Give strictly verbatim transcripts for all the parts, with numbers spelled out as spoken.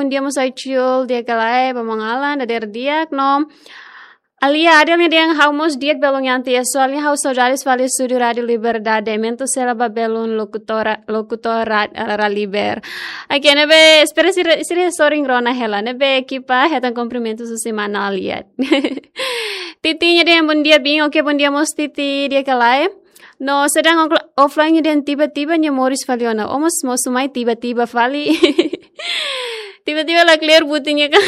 Bom dia mós Aicul, di'ak ka lae, ba maun Alan, dadeer di'ak no. Alia Adel nia dehan ha'u mós di'ak belun Yanti, e soalnya ha'u saudades fali estúdiu Rádiu Liberdade, mentu sela ba belun lokutora, lokutora, eh, Raliber. Oke, ne'ebé, espera sira, sira sorin rona hela, ne'ebé ekipa hetan kumprimentus husi mana Alia. Titi nia dehan bom dia, bin, oke, bom dia mós Titi, di'ak ka lae. No sedang offline nia dehan tiba-tiba nia moris fali ona. O mós, mós mai tiba-tiba fali. Tiba-tiba la clear butunya kan.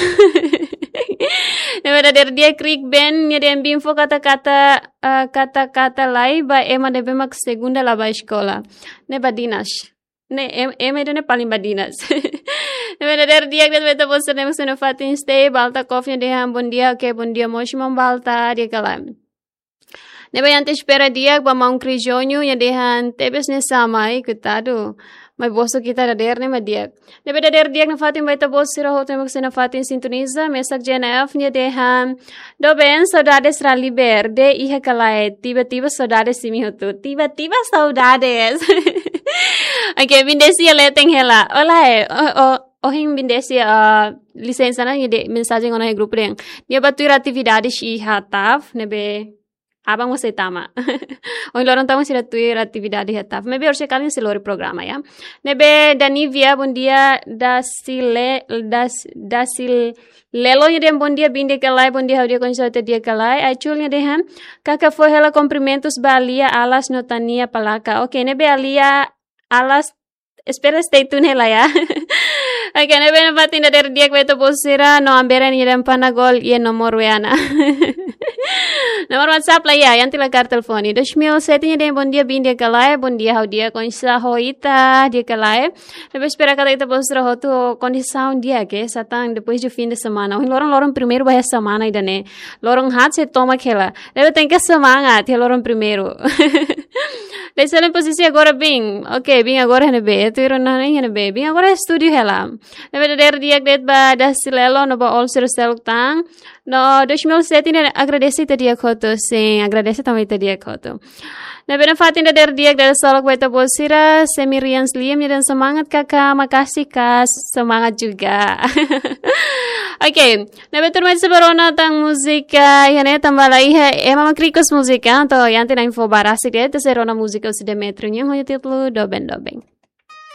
Ne'ebé dadeer di'ak, Krik Ben nia dehan bin fó kata-kata, eh, kata-kata lai ba ema ne'ebé mak segunda la bá eskola. Ne'e badinas. Ne'e, em, ema ida-ne'e paling badinas. Ne'ebé dadeer di'ak de'it ba ita-boot sira ne'ebé sei iha fatin stay, Balta Coffee nia dehan bom dia, oke, bom dia mós maun Balta, di'ak ka lae. Ne'ebé Yanti espera di'ak ba maun Krijonyu, nia dehan tebes ne'e sama, ai, koitadu. Mai bosok ita dadeer ne'e mak di'ak. Ne'ebé dadeer di'ak nafatin ba ita-boot sira hotu ne'ebé sei nafatin sintoniza, mesak J N F nia dehan, doben, saudades Raliber, di'ak ka lae, tiba-tiba saudades imi hotu, tiba-tiba saudades. Oke, bin Desi nia leten hela. Olá, é, o, o, ohin bin Desi, ah, lisensa ona, nia dehan mensajen ona iha grupu dehan nia bá tuir atividades iha TAF, ne'ebé aban mós sei tama. Ohin loron tan sira tuir atividade iha TAF. Maibé orsida kalan sei lori programa, ya. Ne'ebé Danivia, bom dia, Dasile-, Das-, Dasilelo nia dehan bom dia, bin di'ak ka lae, bom dia, ha'u di'ak, oinsá ita di'ak ka lae. Aicul nia dehan, kaka fó hela kumprimentus ba Alia Alas no Tania Palaka. Oke, ne'ebé Alia Alas, espera stay tune hela ya. Oke, ne'ebé nafatin dadeer di'ak ba ita-boot sira, no Ambera nia dehan Panagol iha nomor W A ona. Nomor WhatsApp la iha, Yanti la kaer telefone. Dois mil e sete nia dehan bom dia, bin di'ak ka lae, bom dia, ha'u di'ak, oinsá ho ita, di'ak ka lae. Ne'ebé espera katak ita-boot sira hotu kondisaun di'ak, oke, satán depois de fim de semana. Ohin loron, loron primeiru ba iha semana ida-ne'e. Loron haat sei tomak hela. Ne'ebé tenke semangat iha loron primeiru. Dasilelo, pozisi agora bin. Oke, bin agora iha ne'ebé? Tuir ona iha ne'ebé? Bin agora estúdiu hela. Ne'ebé dadeer di'ak de'it ba Dasilelo no ba all sira seluk tan. No dois mil e sete ne'e agradese ita di'ak hotu, sin, agradese tanba ita di'ak hotu. Ne'ebé nafatin dadeer di'ak, dadeer solok ba ita-boot sira, Semirians Liam nia dehan semangat kakak, makasih kak, semangat juga. Oke, ne'ebé tuirmai ita sei bá rona tan múzika, iha ne'e tanba la iha ema mak request múzika, entaun Yanti na'in-fó ba rasik de'it, ita sei rona múzika husi Demetrio nian ho títulu Doben Doben.